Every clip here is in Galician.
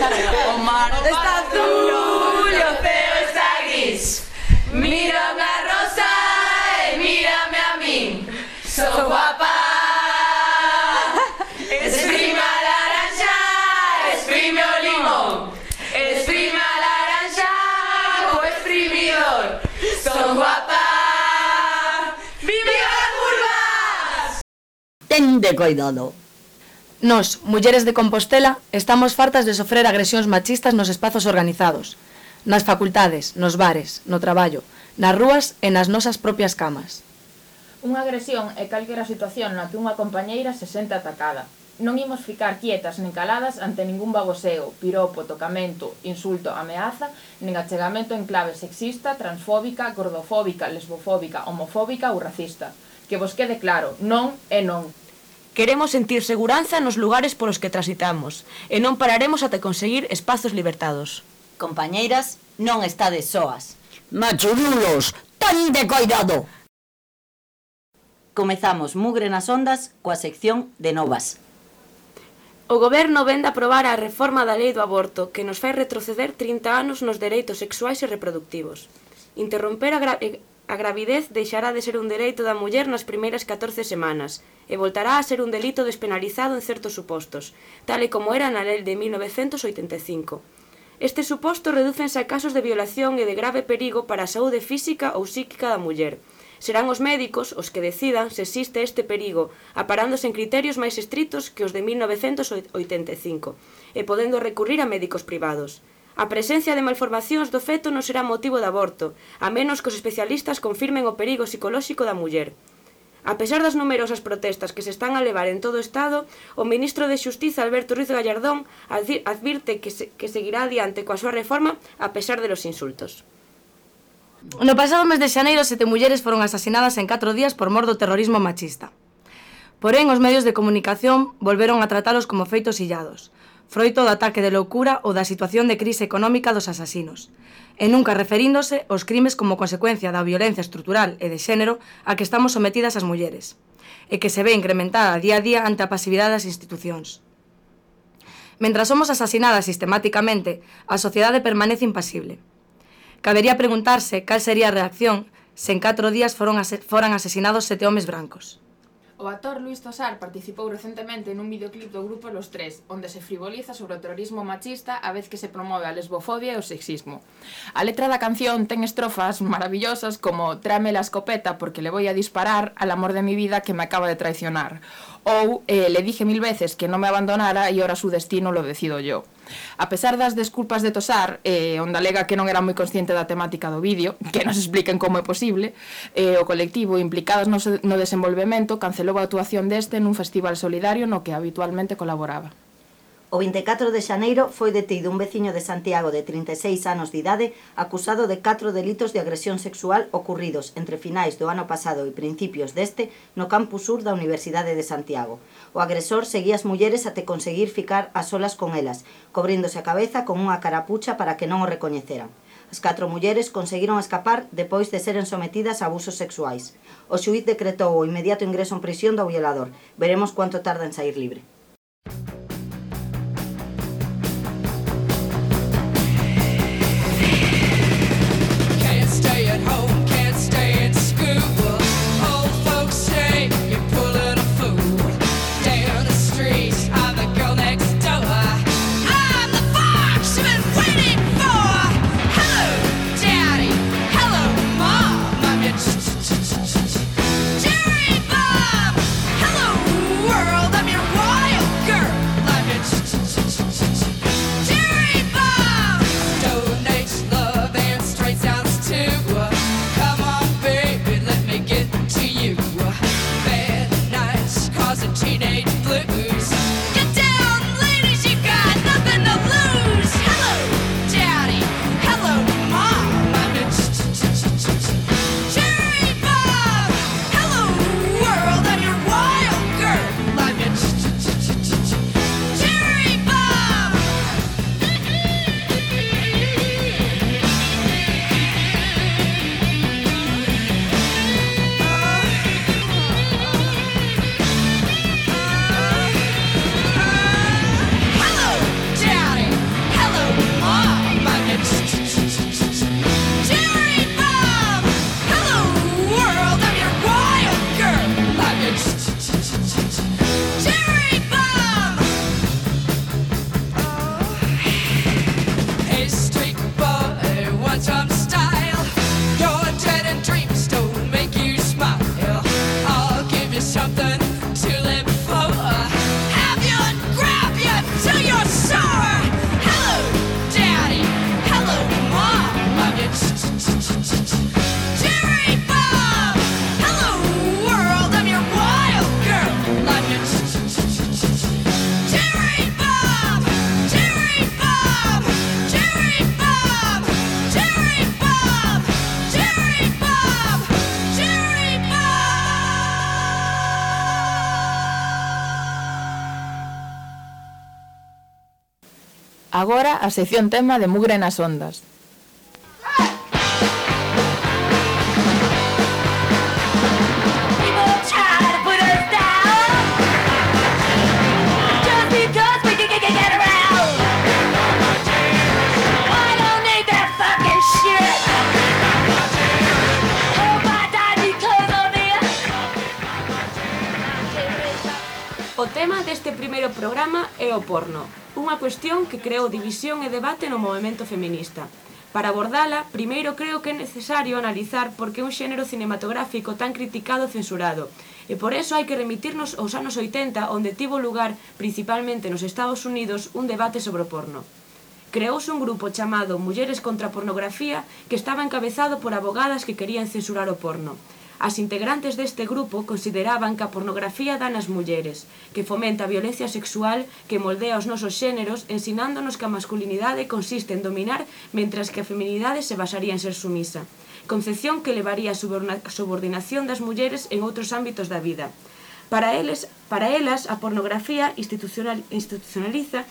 O mar está azul e o ceo está gris. Mírame a rosa e mírame a min. Sou guapa. Exprime a laranja, exprime o limón. Exprime a laranja co exprimidor. Sou guapa. Viva as curvas! Tende cuidado. Nós, mulleres de Compostela, estamos fartas de sofrer agresións machistas nos espazos organizados, nas facultades, nos bares, no traballo, nas rúas e nas nosas propias camas. Unha agresión é calquera situación na que unha compañeira se sente atacada. Non imos ficar quietas nen caladas ante ningún baboseo, piropo, tocamento, insulto, ameaza, nen achegamento en clave sexista, transfóbica, gordofóbica, lesbofóbica, homofóbica ou racista. Que vos quede claro, non é non. Queremos sentir seguranza nos lugares polos que transitamos e non pararemos ata conseguir espazos libertados. Compañeiras, non estades soas. Machurulos, tende cuidado. Comezamos Mugre nas ondas coa sección de novas. O Goberno vén de aprobar a reforma da lei do aborto que nos fai retroceder 30 anos nos dereitos sexuais e reproductivos. Interromper a gravidez deixará de ser un dereito da muller nas primeiras 14 semanas e voltará a ser un delito despenalizado en certos supostos, tal e como era na lei de 1985. Estes supostos redúcense a casos de violación e de grave perigo para a saúde física ou psíquica da muller. Serán os médicos os que decidan se existe este perigo, aparándose en criterios máis estritos que os de 1985 e podendo recurrir a médicos privados. A presencia de malformacións do feto non será motivo de aborto, a menos que os especialistas confirmen o perigo psicolóxico da muller. A pesar das numerosas protestas que se están a levar en todo o Estado, o ministro de Xustiza Alberto Ruiz Gallardón advirte que seguirá adiante coa súa reforma a pesar de los insultos. No pasado mes de xaneiro, 7 mulleres foron asasinadas en 4 días por mor do terrorismo machista. Porén, os medios de comunicación volveron a tratalos como feitos illados, froito do ataque de loucura ou da situación de crise económica dos asasinos, e nunca referíndose aos crimes como consecuencia da violencia estrutural e de xénero a que estamos sometidas as mulleres, e que se ve incrementada día a día ante a pasividade das institucións. Mentras somos asasinadas sistemáticamente, a sociedade permanece impasible. Cabería preguntarse cal sería a reacción se en 4 días foran asesinados 7 homes brancos. O actor Luis Tosar participou recentemente nun videoclip do grupo Los Tres, onde se frivoliza sobre o terrorismo machista a vez que se promove a lesbofobia e o sexismo. A letra da canción ten estrofas maravillosas como «Tráeme la escopeta porque le voy a disparar al amor de mi vida que me acaba de traicionar» ou «Le dije 1000 veces que no me abandonara y ahora su destino lo decido yo». A pesar das desculpas de Tosar, onde alega que non era moi consciente da temática do vídeo, que nos expliquen como é posible, o colectivo implicadas no desenvolvemento cancelou a actuación deste nun festival solidario no que habitualmente colaboraba. O 24 de xaneiro foi detido un veciño de Santiago de 36 anos de idade acusado de 4 delitos de agresión sexual ocurridos entre finais do ano pasado e principios deste no campus sur da Universidade de Santiago. O agresor seguía as mulleres até conseguir ficar a solas con elas, cobríndose a cabeza con unha carapucha para que non o recoñeceran. As 4 mulleres conseguiron escapar depois de seren sometidas a abusos sexuais. O xuíz decretou o inmediato ingreso en prisión do violador. Veremos cuánto tarda en sair libre. Jerry Bob, hello world, I'm your wife. Agora a sección tema de Mugre nas ondas. O tema deste primeiro programa é o porno, unha cuestión que creou división e debate no movemento feminista. Para abordala, primeiro creo que é necesario analizar por que un xénero cinematográfico tan criticado e censurado, e por eso hai que remitirnos aos anos 80, onde tivo lugar, principalmente nos Estados Unidos, un debate sobre o porno. Creouse un grupo chamado Mulleres contra a Pornografía que estaba encabezado por abogadas que querían censurar o porno. As integrantes deste grupo consideraban que a pornografía dá nas mulleres, que fomenta a violencia sexual, que moldea os nosos xéneros, ensinándonos que a masculinidade consiste en dominar, mentras que a feminidade se basaría en ser sumisa. Concepción que levaría a subordinación das mulleres en outros ámbitos da vida. Para elas, a pornografía institucionaliza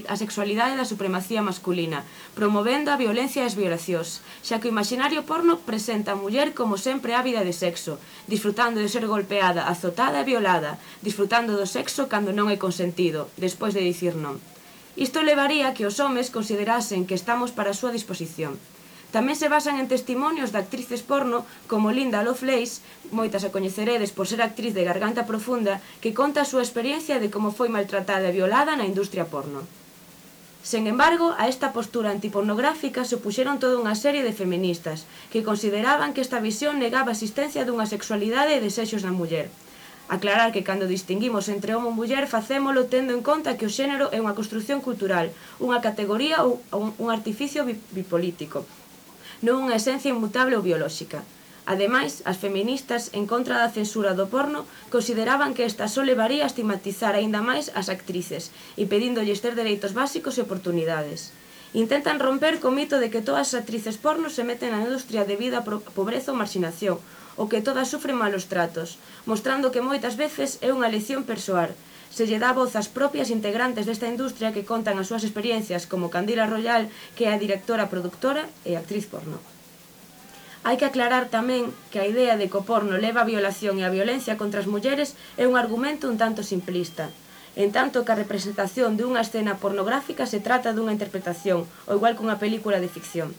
a sexualidade da supremacía masculina, promovendo a violencia e as violacións, xa que o imaginario porno presenta a muller como sempre ávida de sexo, disfrutando de ser golpeada, azotada e violada, disfrutando do sexo cando non é consentido, despois de dicir non. Isto levaría a que os homes considerasen que estamos para a súa disposición. Tamén se basan en testimonios de actrices porno como Linda Lovelace, moitas a coñeceredes por ser actriz de Garganta Profunda, que conta a súa experiencia de como foi maltratada e violada na industria porno. Sen embargo, a esta postura antipornográfica se opuxeron toda unha serie de feministas, que consideraban que esta visión negaba a existencia dunha sexualidade e desexos na muller. Aclarar que cando distinguimos entre homo e muller facémolo tendo en conta que o xénero é unha construción cultural, unha categoría ou un artificio bipolítico, non unha esencia inmutable ou biolóxica. Ademais, as feministas, en contra da censura do porno, consideraban que esta só levaría a estigmatizar aínda máis as actrices, impedíndolles ter dereitos básicos e oportunidades. Intentan romper co mito de que todas as actrices porno se meten na industria debido a pobreza ou marxinación, ou que todas sufren malos tratos, mostrando que moitas veces é unha lección persoal. Se lle dá voz ás propias integrantes desta industria que contan as súas experiencias como Candila Royal, que é a directora, produtora e actriz porno. Hai que aclarar tamén que a idea de que o porno leva a violación e a violencia contra as mulleres é un argumento un tanto simplista. En tanto que a representación de unha escena pornográfica se trata dunha interpretación, ou igual que unha película de ficción.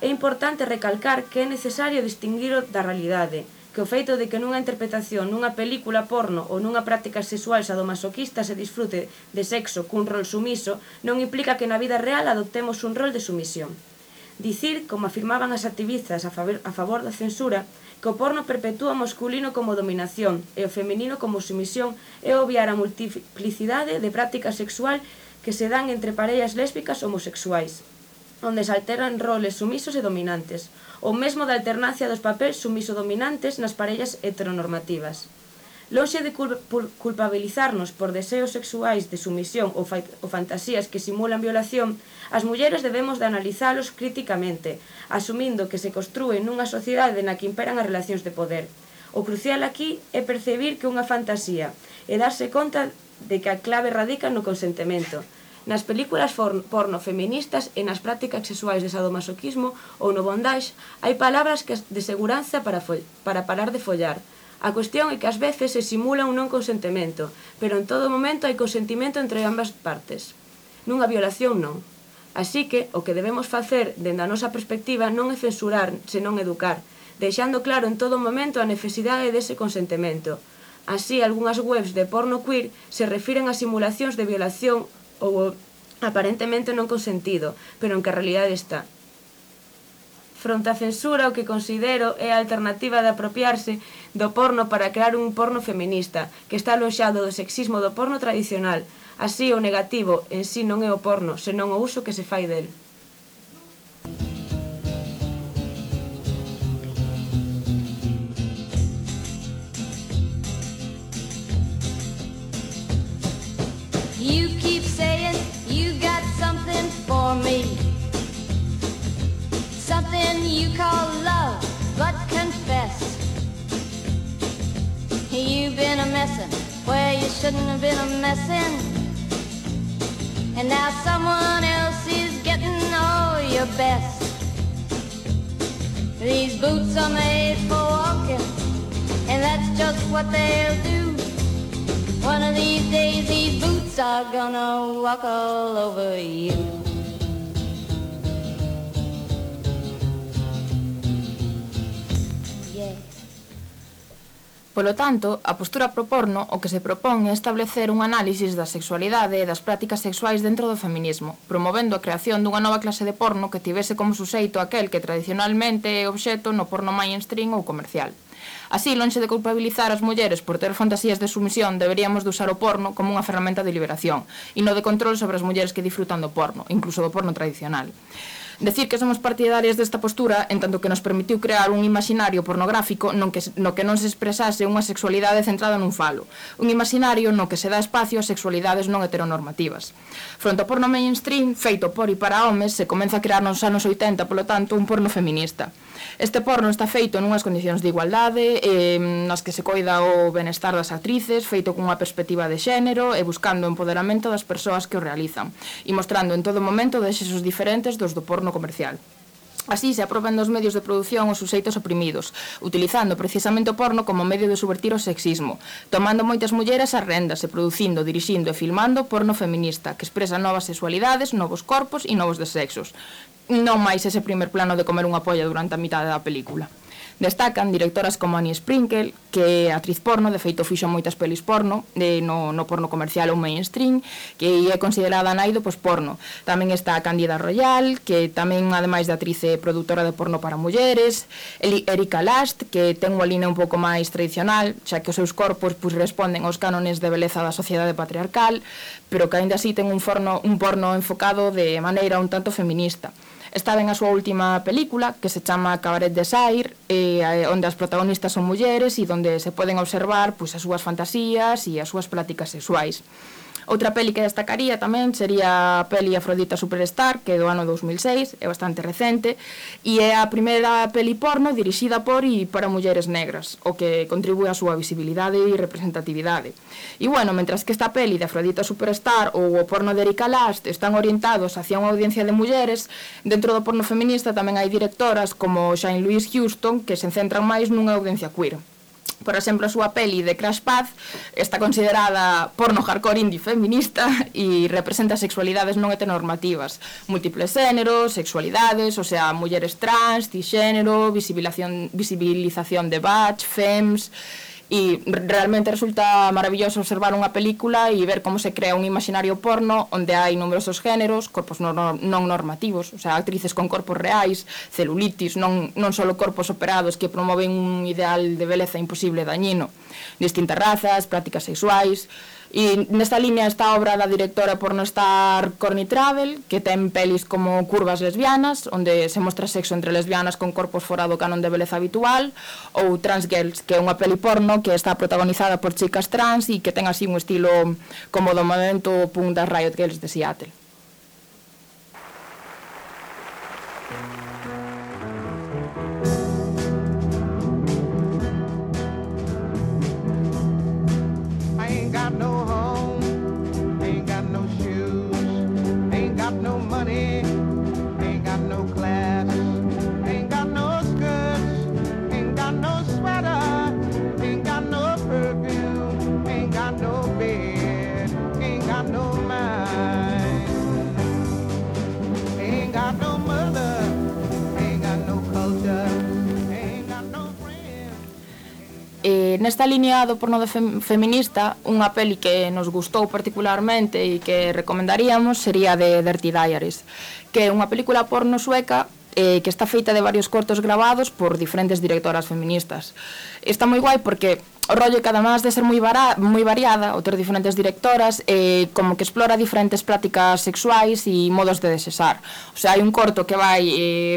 É importante recalcar que é necesario distinguir da realidade, que o feito de que nunha interpretación, nunha película porno ou nunha práctica sexual sadomasoquista se disfrute de sexo cun rol sumiso non implica que na vida real adoptemos un rol de sumisión. Dicir, como afirmaban as activistas a favor da censura, que o porno perpetúa o masculino como dominación e o feminino como sumisión é obviar a multiplicidade de prácticas sexual que se dan entre parellas lésbicas homosexuais, onde se alteran roles sumisos e dominantes, ou mesmo da alternancia dos papéis sumiso-dominantes nas parellas heteronormativas. Lonxe de culpabilizarnos por deseos sexuais de sumisión ou fantasías que simulan violación, as mulleres debemos de analizalos críticamente, asumindo que se construe nunha sociedade na que imperan as relacións de poder. O crucial aquí é percibir que unha fantasía e darse conta de que a clave radica no consentimento. Nas películas porno feministas e nas prácticas sexuais de sadomasoquismo ou no bondage hai palabras de seguranza para parar de follar. A cuestión é que ás veces se simula un non consentimento, pero en todo momento hai consentimento entre ambas partes. Nunha violación non. Así que o que debemos facer dende a nosa perspectiva non é censurar, senón educar, deixando claro en todo momento a necesidade dese consentimento. Así, algunhas webs de porno queer se refiren a simulacións de violación ou aparentemente non consentido, pero en que a realidade está. Fronte á censura, o que considero é a alternativa de apropiarse do porno para crear un porno feminista, que está aloxado do sexismo do porno tradicional. Así, o negativo en sí non é o porno, senón o uso que se fai del. You keep saying you got something for me, something you call love, but confess you've been a messin' where you shouldn't have been a messin', and now someone else is getting all your best. These boots are made for walking, and that's just what they'll do. One of these days these boots are gonna walk all over you. Polo tanto, a postura pro porno o que se propón é establecer un análisis da sexualidade e das prácticas sexuais dentro do feminismo, promovendo a creación dunha nova clase de porno que tivese como suxeito aquel que tradicionalmente é obxeto no porno mainstream ou comercial. Así, lonxe de culpabilizar as mulleres por ter fantasías de sumisión, deberíamos de usar o porno como unha ferramenta de liberación e no de control sobre as mulleres que disfrutan do porno, incluso do porno tradicional. Decir que somos partidarias desta postura en tanto que nos permitiu crear un imaginario pornográfico no que non se expresase unha sexualidade centrada nun falo, un imaginario no que se dá espacio a sexualidades non heteronormativas. Fronte ao porno mainstream, feito por e para homes, se comeza a crear nos anos 80, polo tanto, un porno feminista. Este porno está feito nunhas condicións de igualdade, nas que se coida o benestar das actrices, feito cunha perspectiva de xénero e buscando o empoderamento das persoas que o realizan, e mostrando en todo momento desexos diferentes dos do porno comercial. Así se apropian dos medios de produción os suxeitos oprimidos, utilizando precisamente o porno como medio de subvertir o sexismo, tomando moitas mulleres as rendas e producindo, dirixindo e filmando porno feminista, que expresa novas sexualidades, novos corpos e novos desexos. Non máis ese primer plano de comer unha polla durante a mitad da película. Destacan directoras como Annie Sprinkle, que é atriz porno, de feito fixo moitas pelis porno, no porno comercial ou mainstream, que é considerada nai do posporno. Tamén está Cándida Royal, que tamén, ademais de actriz, é produtora de porno para mulleres. Erika Last, que ten unha línea un pouco máis tradicional, xa que os seus corpos responden aos cánones de beleza da sociedade patriarcal, pero que aínda así ten un porno enfocado de maneira un tanto feminista. Está ben a súa última película, que se chama Cabaret Desire, onde as protagonistas son mulleres e onde se poden observar as súas fantasías e as súas prácticas sexuais. Outra peli que destacaría tamén sería a peli Afrodita Superstar, que é do ano 2006, é bastante recente, e é a primeira peli porno dirixida por e para mulleres negras, o que contribúe á súa visibilidade e representatividade. E bueno, mentras que esta peli de Afrodita Superstar ou o porno de Erika Last están orientados hacia unha audiencia de mulleres, dentro do porno feminista tamén hai directoras como Shane Louise Houston que se centran máis nunha audiencia queer. Por exemplo, a súa peli de Crash Pad está considerada porno hardcore indie feminista e representa sexualidades non heteronormativas, múltiples xéneros, sexualidades, o sea, mulleres trans, cisxénero, visibilización de butch, femmes. E realmente resulta maravilloso observar unha película e ver como se crea un imaginario porno onde hai numerosos géneros, corpos non normativos, o sea, actrices con corpos reais, celulitis, non só corpos operados que promoven un ideal de beleza imposible e dañino, distintas razas, prácticas sexuais. E nesta línea está a obra da directora pornostar Courtney Travel, que ten pelis como Curvas lesbianas, onde se mostra sexo entre lesbianas con corpos fora do canon de beleza habitual, ou Trans Girls, que é unha peli porno que está protagonizada por chicas trans e que ten así un estilo como do movimento punk das Riot Girls de Seattle. Nesta línea do porno feminista, unha peli que nos gustou particularmente e que recomendaríamos sería de Dirty Diaries, que é unha película porno sueca que está feita de varios cortos gravados por diferentes directoras feministas. Está moi guai porque o rollo que además de ser moi variada, ou ter diferentes directoras, como que explora diferentes prácticas sexuais e modos de desexar. O sea, hai un corto que vai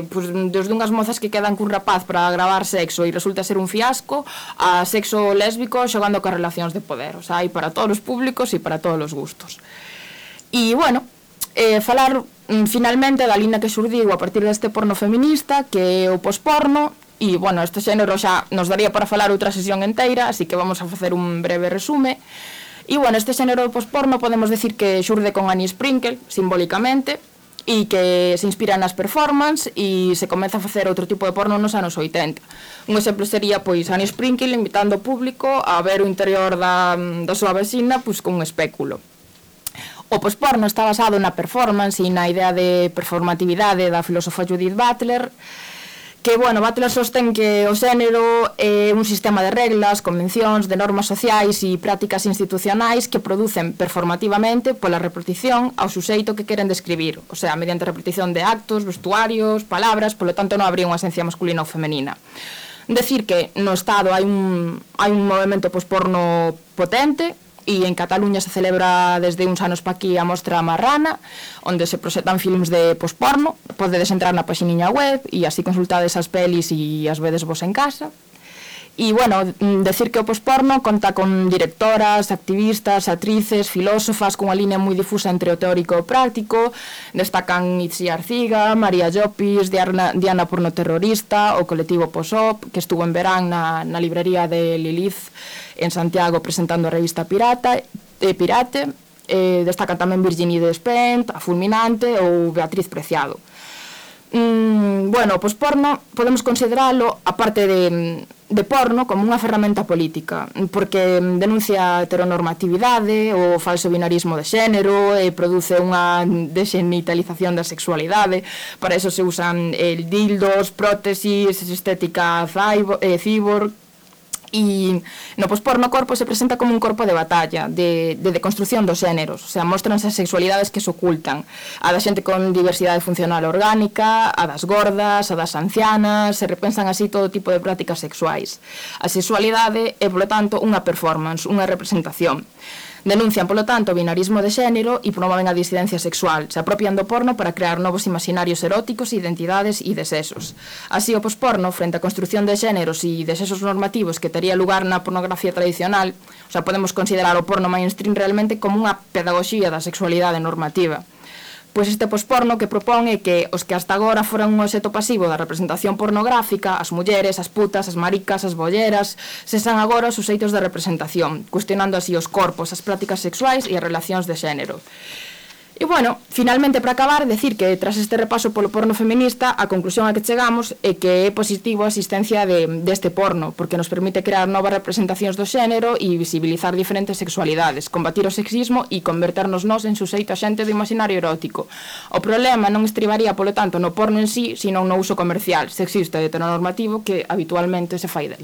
desde unhas mozas que quedan cun rapaz para gravar sexo e resulta ser un fiasco, a sexo lésbico xogando con relacións de poder. O sea, hai para todos os públicos e para todos os gustos. E, bueno, falar finalmente da línea que xurdiu a partir deste porno feminista, que é o posporno. E, bueno, este xénero xa nos daría para falar outra sesión enteira, así que vamos a facer un breve resume. E, bueno, este xénero de posporno podemos decir que xurde con Annie Sprinkle, simbólicamente, e que se inspira nas performance e se comeza a facer outro tipo de porno nos anos 80. Un exemplo sería, pois, Annie Sprinkle invitando o público a ver o interior da súa vecina, pois, con un espéculo. O posporno está basado na performance e na idea de performatividade da filósofa Judith Butler, que, bueno, Butler sostén que o xénero é un sistema de reglas, convencións, de normas sociais e prácticas institucionais que producen performativamente pola repetición ao suxeito que queren describir, o sea, mediante repetición de actos, vestuarios, palabras, polo tanto non habría unha esencia masculina ou femenina. Decir que no Estado hai un movimento posporno potente, e en Cataluña se celebra desde uns anos pa aquí a Mostra Marrana, onde se proxectan filmes de posporno. Podedes entrar na paxiniña web e así consultades as pelis e as vedes vos en casa. E, bueno, decir que o posporno conta con directoras, activistas, actrices, filósofas cunha línea moi difusa entre o teórico e o práctico. Destacan Itzi Arciga, María Llopis, Diana Pornoterrorista, o colectivo Posop, que estuvo en verán na librería de Lilith en Santiago presentando a revista Pirate. Destacan tamén Virginie Despentes, a Fulminante ou Beatriz Preciado. Bueno, o posporno podemos consideralo, aparte de porno, como unha ferramenta política, porque denuncia a heteronormatividade, o falso binarismo de xénero, e produce unha desxenitalización da sexualidade. Para eso se usan dildos, prótesis, estética cyborg. E no posporno o corpo se presenta como un corpo de batalla, de deconstrucción dos xéneros, o sea, mostranse as sexualidades que se ocultan, a da xente con diversidade funcional orgánica, a das gordas, a das ancianas, se repensan así todo tipo de prácticas sexuais. A sexualidade é, polo tanto, unha performance, unha representación. Denuncian, polo tanto, o binarismo de xénero e promoven a disidencia sexual. Se apropian do porno para crear novos imaginarios eróticos, identidades e desexos. Así, o posporno, frente á construcción de xéneros e desexos normativos que tería lugar na pornografía tradicional, o sea, podemos considerar o porno mainstream realmente como unha pedagogía da sexualidade normativa. Pois este posporno que propón é que os que hasta agora foran un obxecto pasivo da representación pornográfica, as mulleres, as putas, as maricas, as bolleras, sexan agora os suxeitos de representación, cuestionando así os corpos, as prácticas sexuais e as relacións de xénero. E, bueno, finalmente, para acabar, decir que tras este repaso polo porno feminista, a conclusión a que chegamos é que é positivo a existencia deste porno, porque nos permite crear novas representacións do xénero e visibilizar diferentes sexualidades, combatir o sexismo e converternos nós en suxeito axente do imaginario erótico. O problema non estribaría, polo tanto, no porno en sí, sino no uso comercial, sexista e heteronormativo que habitualmente se fai del.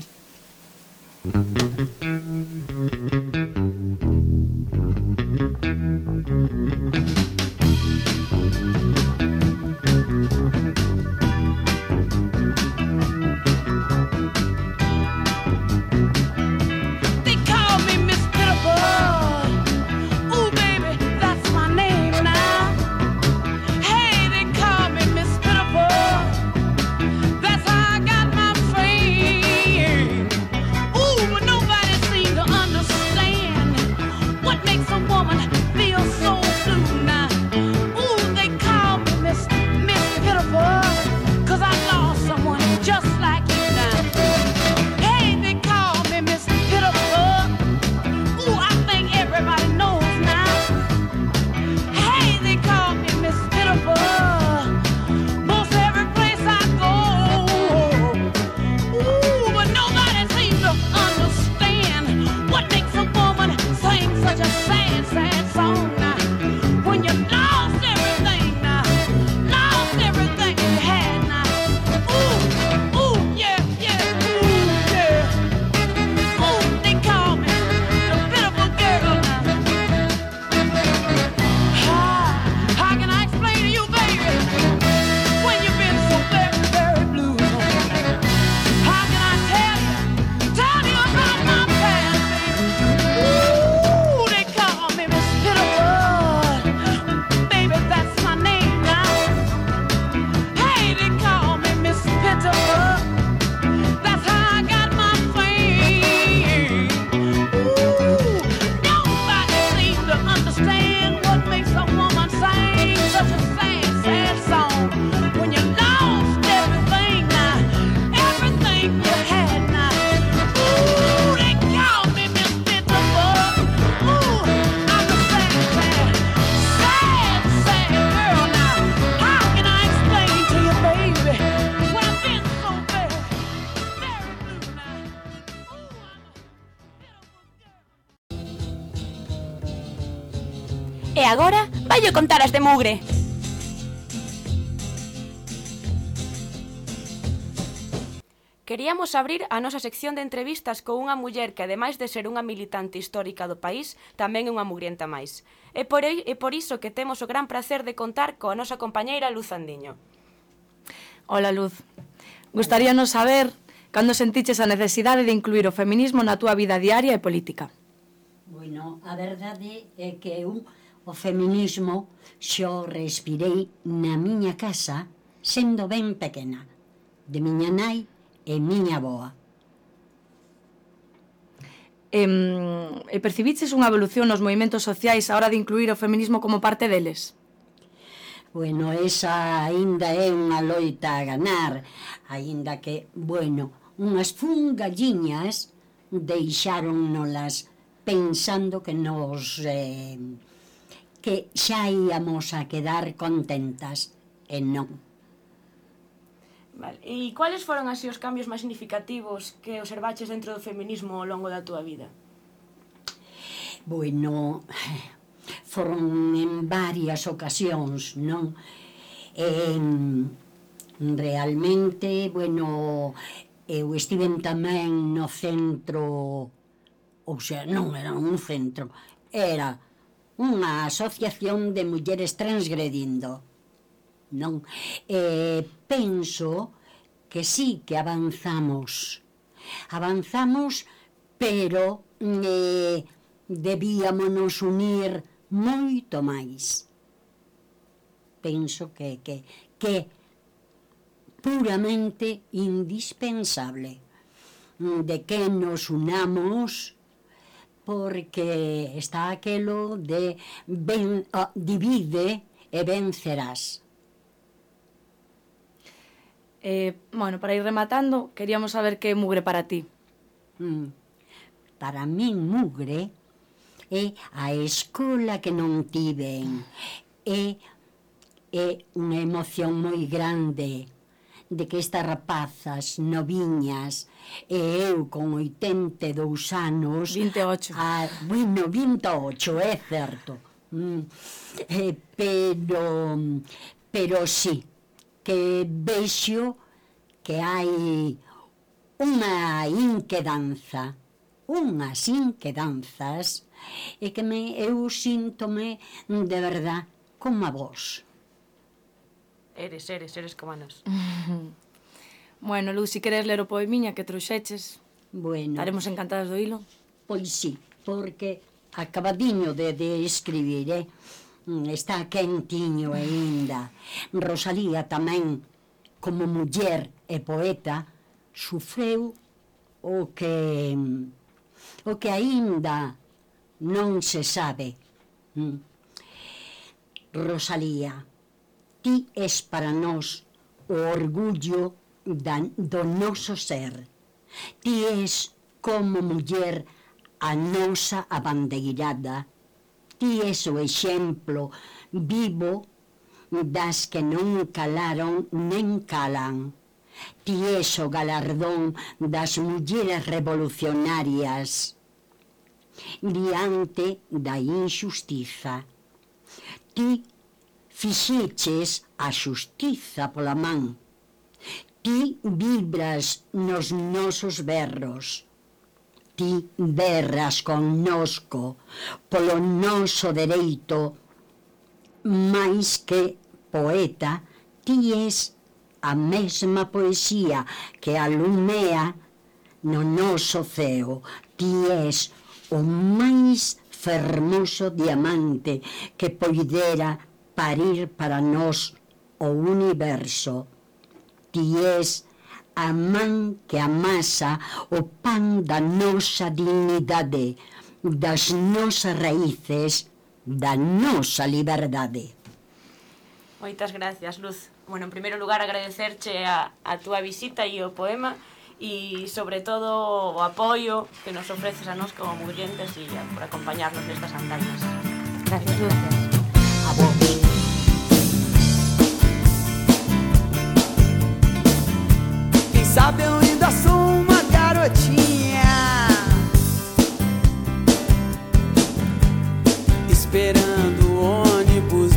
Nobody seemed to understand. Vai contar as de mugre. Queríamos abrir a nosa sección de entrevistas con unha muller que, ademais de ser unha militante histórica do país, tamén é unha mugrienta máis. É por iso que temos o gran placer de contar coa nosa compañeira Luz Andiño. Hola, Luz. Gustaríanos saber cando sentiches a necesidade de incluir o feminismo na túa vida diaria e política. Bueno, a verdade é que eu o feminismo xo respirei na miña casa sendo ben pequena, de miña nai e miña avoa. E percibiches unha evolución nos movimentos sociais a hora de incluir o feminismo como parte deles? Bueno, esa aínda é unha loita a ganar, aínda que, bueno, unhas fungalliñas deixáronnolas pensando que nos que xa íamos a quedar contentas, e non. Vale. E cuáles foron así os cambios máis significativos que observaches dentro do feminismo ao longo da túa vida? Bueno, foron en varias ocasións, non? Realmente, bueno, eu estiven tamén no centro, ou sea, non era un centro, era unha asociación de mulleres transgredindo, non? Penso que sí que avanzamos, pero debíamonos unir moito máis. Penso que puramente indispensable de que nos unamos, porque está aquelo de divide e vencerás. Bueno, para ir rematando, queríamos saber que é mugre para ti. Para min mugre é a escola que non tiven, é unha emoción moi grande de que estas rapazas noviñas e eu con 82 anos... 28. Bueno, 28, é certo. Pero sí, que vexo que hai unha inquedanza, unhas inquedanzas, e que eu síntome de verdad como a vos. Eres como a nos. Bueno, Luz, si queres ler o poemiña que trouxeches, bueno, estaremos encantadas do hilo. Pois sí, porque acabadiño de escribir, está quentiño aínda. Rosalía tamén, como muller e poeta, sufreu o que aínda non se sabe. Rosalía, ti es para nós o orgullo do noso ser. Ti es como muller a nosa abandeirada. Ti es o exemplo vivo das que non calaron nen calan. Ti es o galardón das mulleres revolucionarias diante da injustiza. Ti fixeches a xustiza pola man. Ti vibras nos nosos berros. Ti berras connosco polo noso dereito, máis que poeta, ti es a mesma poesía que alumea no noso ceo. Ti es o máis fermoso diamante que poidera parir para nós o universo. Ti es a man que amasa o pan da nosa dignidade, das nosas raíces, da nosa liberdade. Moitas gracias, Luz. Bueno, en primeiro lugar, agradecerche a túa visita e o poema e, sobre todo, o apoio que nos ofreces a nós como mugrientes e por acompañarnos nestas andainas. Gracias, Luz. A vos. Sabe, eu ainda sou uma garotinha esperando o ônibus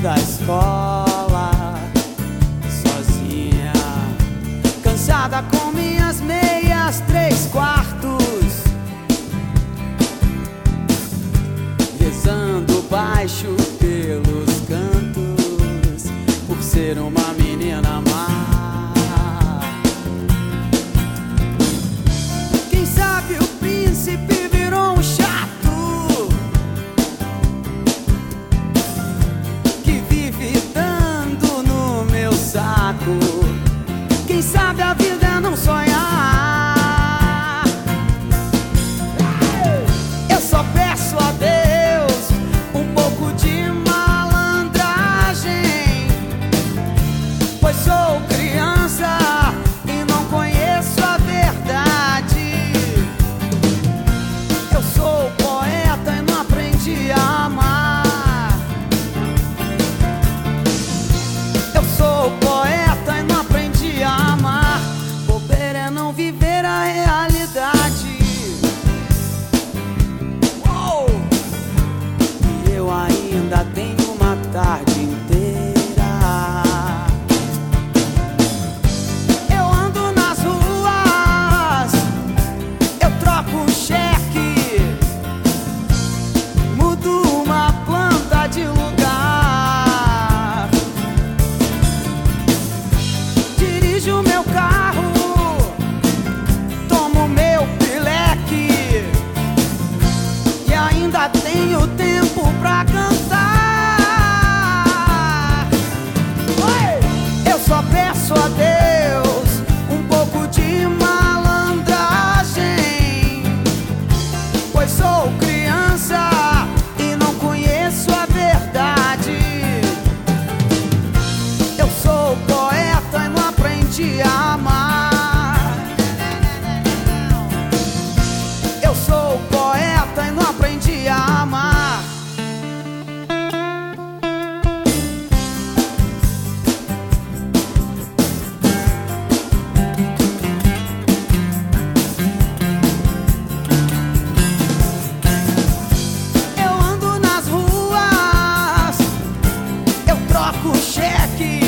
troco cheque,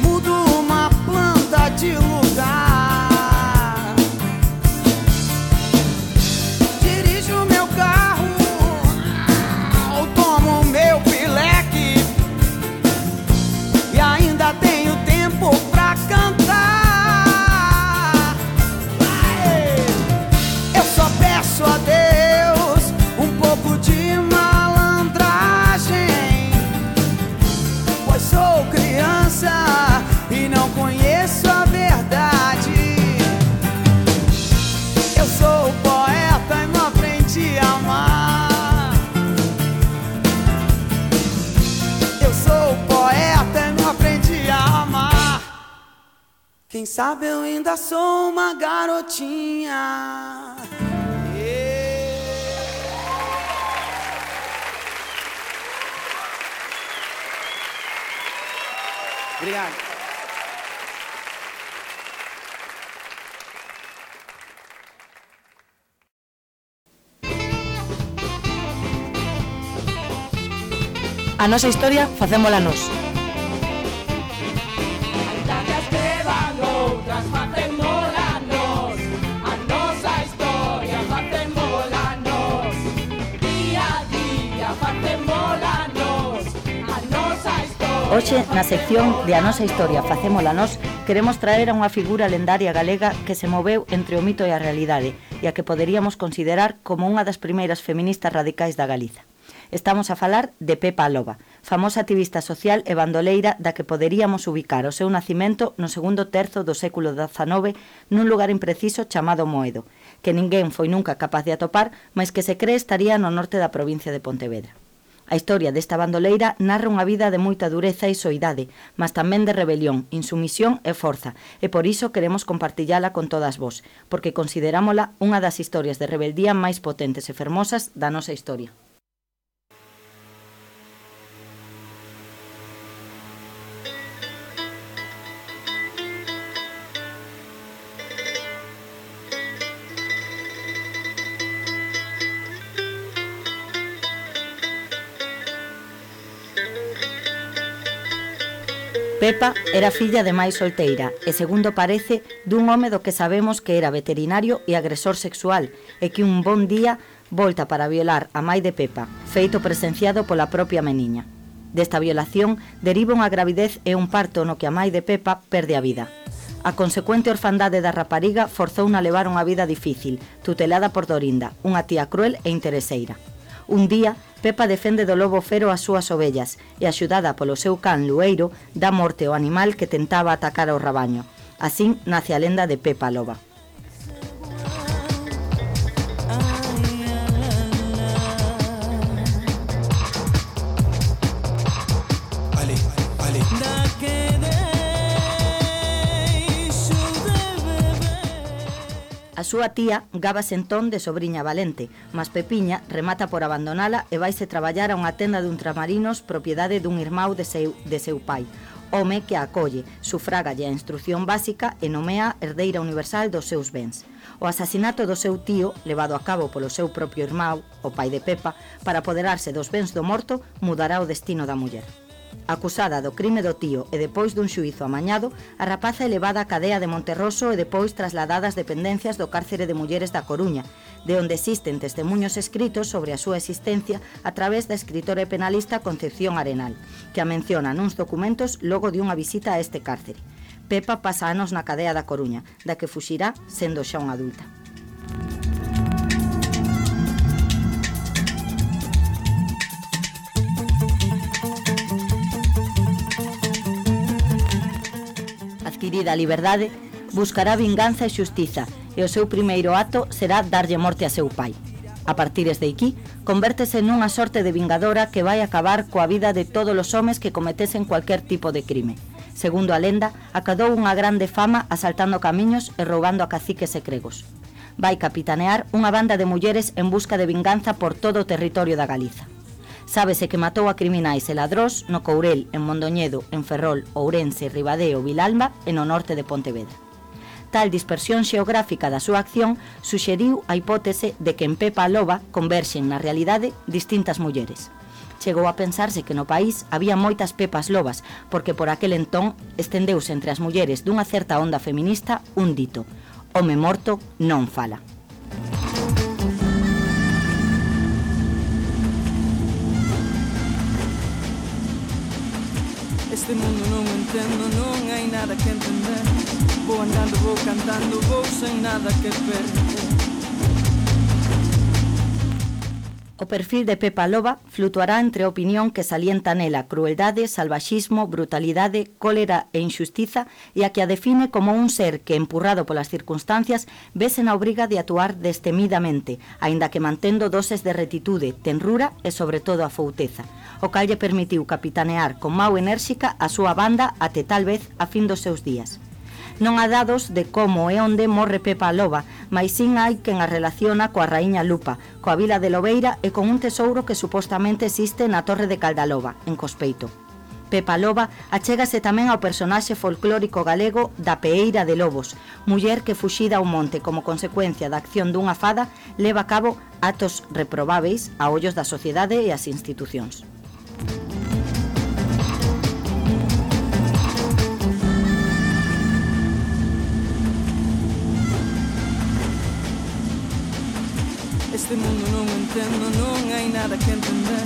mudo uma planta de lugar, dirijo meu carro, tomo meu pileque e ainda tenho tempo pra cantar. Eu só peço a Deus um pouco de malandragem, pois sou criança e não conheço a verdade. Eu sou poeta e não aprendi a amar. Eu sou poeta e não aprendi a amar. Quem sabe eu ainda sou uma garotinha. Obrigado. A nosa historia facémola nós. Hoxe, na sección de A Nosa Historia Facémola Nós, queremos traer a unha figura lendaria galega que se moveu entre o mito e a realidade e a que poderíamos considerar como unha das primeiras feministas radicais da Galiza. Estamos a falar de Pepa a Loba, famosa activista social e bandoleira da que poderíamos ubicar o seu nacimento no segundo terzo do século XIX nun lugar impreciso chamado Moedo, que ninguén foi nunca capaz de atopar, mas que se cree estaría no norte da provincia de Pontevedra. A historia desta bandoleira narra unha vida de moita dureza e soidade, mas tamén de rebelión, insumisión e forza, e por iso queremos compartillala con todas vós, porque considerámola unha das historias de rebeldía máis potentes e fermosas da nosa historia. Pepa era filla de mai solteira e, segundo parece, dun home do que sabemos que era veterinario e agresor sexual e que un bon día volta para violar a mai de Pepa, feito presenciado pola propia meniña. Desta violación deriva unha gravidez e un parto no que a mai de Pepa perde a vida. A consecuente orfandade da rapariga forzouna a levar unha vida difícil, tutelada por Dorinda, unha tía cruel e intereseira. Un día, Pepa defende do lobo fero as súas ovellas e, axudada polo seu can Lueiro, dá morte ao animal que tentaba atacar ao rabaño. Así nace a lenda de Pepa a Loba. A súa tía gábase entón de sobriña valente, mas Pepiña remata por abandonala e vaise traballar a unha tenda de ultramarinos propiedade dun irmão de seu pai, home que a acolle, sufrágalle a instrucción básica e nomea herdeira universal dos seus bens. O asasinato do seu tío, levado a cabo polo seu propio irmão, o pai de Pepa, para apoderarse dos bens do morto, mudará o destino da muller. Acusada do crime do tío e depois dun xuízo amañado, a rapaza é levada á cadea de Monterroso e depois trasladada ás dependencias do cárcere de mulleres da Coruña, de onde existen testemunhos escritos sobre a súa existencia a través da escritora e penalista Concepción Arenal, que a menciona nuns documentos logo de unha visita a este cárcere. Pepa pasa anos na cadea da Coruña, da que fuxirá sendo xa unha adulta. Adquirida a liberdade, buscará vinganza e xustiza e o seu primeiro acto será darlle morte a seu pai. A partir de aquí, convértese nunha sorte de vingadora que vai acabar coa vida de todos os homes que cometesen cualquier tipo de crime. Segundo a lenda, acadou unha grande fama asaltando camiños e roubando a caciques e cregos. Vai capitanear unha banda de mulleres en busca de vinganza por todo o territorio da Galiza. Sábese que matou a criminais e ladrós no Courel, en Mondoñedo, en Ferrol, Ourense, Ribadeo, Vilalba e no norte de Pontevedra. Tal dispersión xeográfica da súa acción suxeriu a hipótese de que en Pepa a Loba converxen na realidade distintas mulleres. Chegou a pensarse que no país había moitas Pepas Lobas, porque por aquel entón estendeuse entre as mulleres dunha certa onda feminista un dito: home morto non fala. Este mundo non o entendo, non hai nada que entender. Vou andando, vou cantando, vou sen nada que perder. O perfil de Pepa Loba flutuará entre a opinión que salienta nela crueldade, salvaxismo, brutalidade, cólera e injustiza e a que a define como un ser que, empurrado polas circunstancias, vese na obriga de actuar destemidamente, aínda que mantendo doses de retitude, tenrura e, sobre todo, a fouteza, o cal lle permitiu capitanear con mau enérxica a súa banda até tal vez a fin dos seus días. Non há dados de como e onde morre Pepa Loba, mas sin hai quen a relaciona coa raíña Lupa, coa vila de Lobeira e con un tesouro que supostamente existe na Torre de Caldaloba, en Cospeito. Pepa Loba achégase tamén ao personaxe folclórico galego da Peeira de Lobos, muller que fuxida ao monte como consecuencia da acción dunha fada leva a cabo actos reprobáveis a ollos da sociedade e as institucións. Este mundo non o entendo, non hai nada que entender.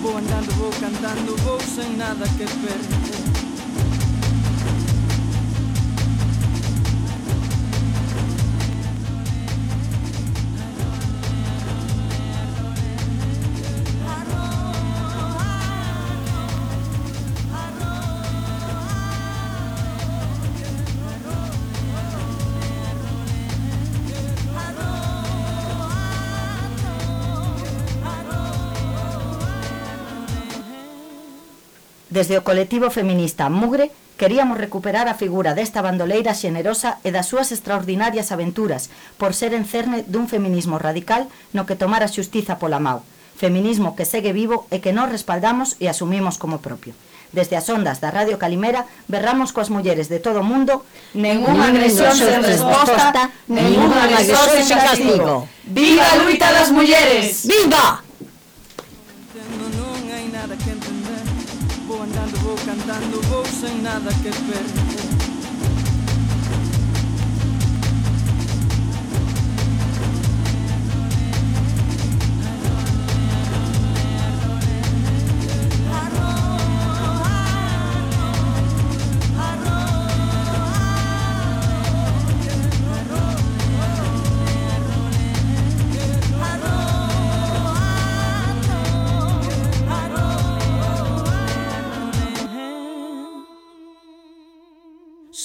Vou andando, vou cantando, vou sen nada que perder. Desde o colectivo feminista Mugre queríamos recuperar a figura desta bandoleira xenerosa e das súas extraordinarias aventuras por ser en cerne dun feminismo radical no que tomar a xustiza pola mau. Feminismo que segue vivo e que nós respaldamos e asumimos como propio. Desde as ondas da Radio Calimera berramos coas mulleres de todo o mundo: ninguna agresión sen resposta, ninguna agresión sen castigo. Viva a luita das mulleres! Viva! Non hai nada que entender. Vou andando, vou cantando, vou sen nada que perder.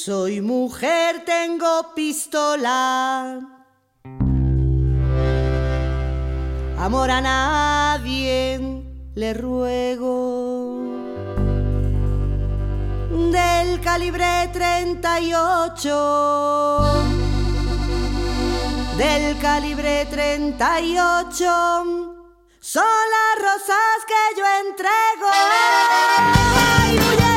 Soy mujer, tengo pistola. Amor a nadie le ruego. Del calibre 38. Del calibre 38. Son las rosas que yo entrego. ¡Ay, mujeres!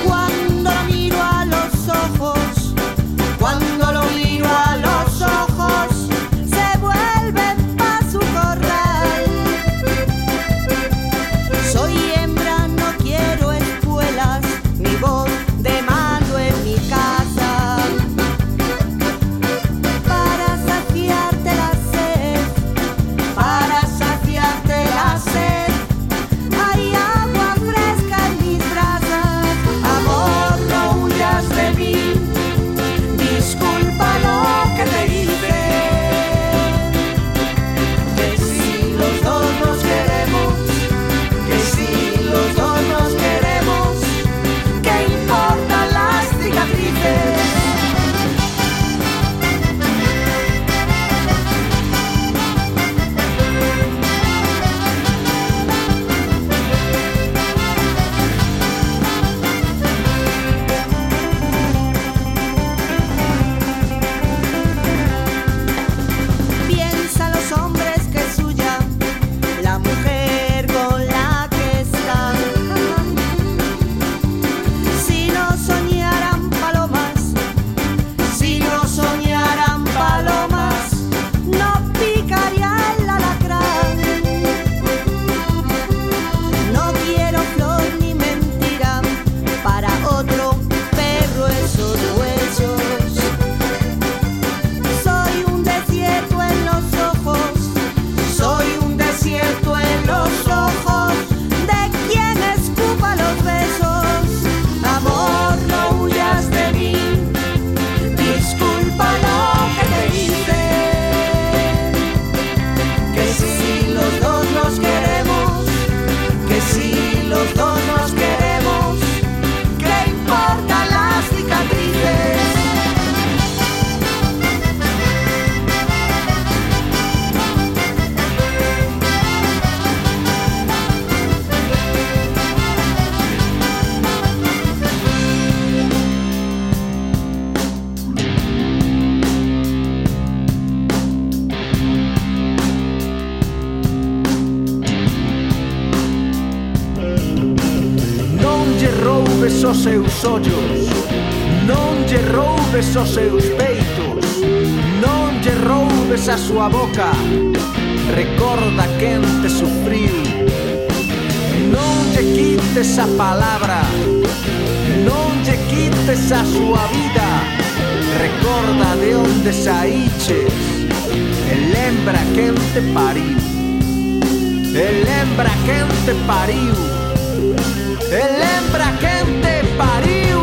Cuando miro a los ojos seus ollos, non lle roubes os seus peitos, non lle roubes a súa boca, recorda quen te sufriu. Non lle quites a palabra, non lle quites a súa vida, recorda de onde saíches e lembra quen te pariu. E lembra quen te pariu. E lembra quen te pariu.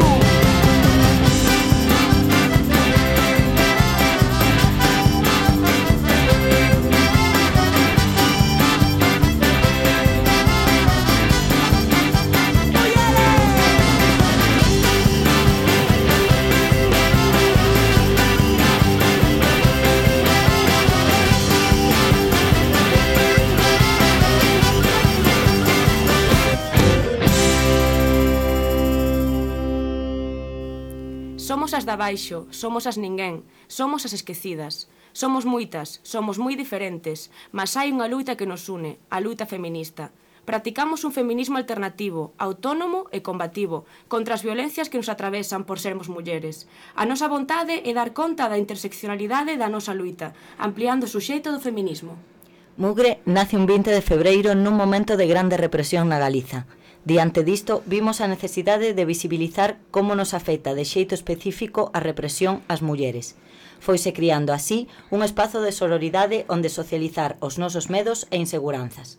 Somos as de abaixo, somos as ninguén, somos as esquecidas. Somos moitas, somos moi diferentes, mas hai unha luita que nos une, a luita feminista. Practicamos un feminismo alternativo, autónomo e combativo, contra as violencias que nos atravesan por sermos mulleres. A nosa vontade é dar conta da interseccionalidade da nosa luita, ampliando o suxeito do feminismo. Mugre nace un 20 de febreiro nun momento de grande represión na Galiza. Diante disto, vimos a necesidade de visibilizar como nos afecta de xeito específico a represión ás mulleres. Foise criando así un espazo de sororidade onde socializar os nosos medos e inseguranzas.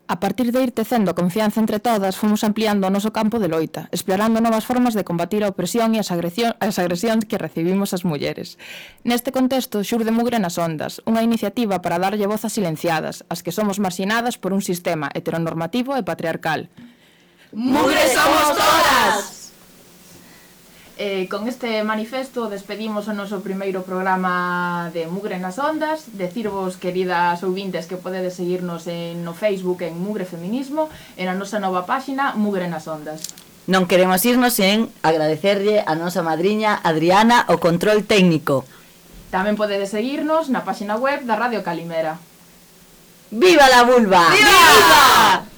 A partir de ir tecendo confianza entre todas, fomos ampliando o noso campo de loita, explorando novas formas de combatir a opresión e as agresións que recibimos as mulleres. Neste contexto, xurde Mugre nas Ondas, unha iniciativa para darlle voz a silenciadas, as que somos marxinadas por un sistema heteronormativo e patriarcal. ¡Mugre somos todas! Con este manifesto despedimos o noso primeiro programa de Mugre nas Ondas. Decirvos, queridas ouvintes, que podedes seguirnos no Facebook en Mugre Feminismo e na nosa nova páxina Mugre nas Ondas. Non queremos irnos sen agradecerlle a nosa madriña Adriana o control técnico. Tamén podedes seguirnos na páxina web da Radio Calimera. ¡Viva la vulva! ¡Viva!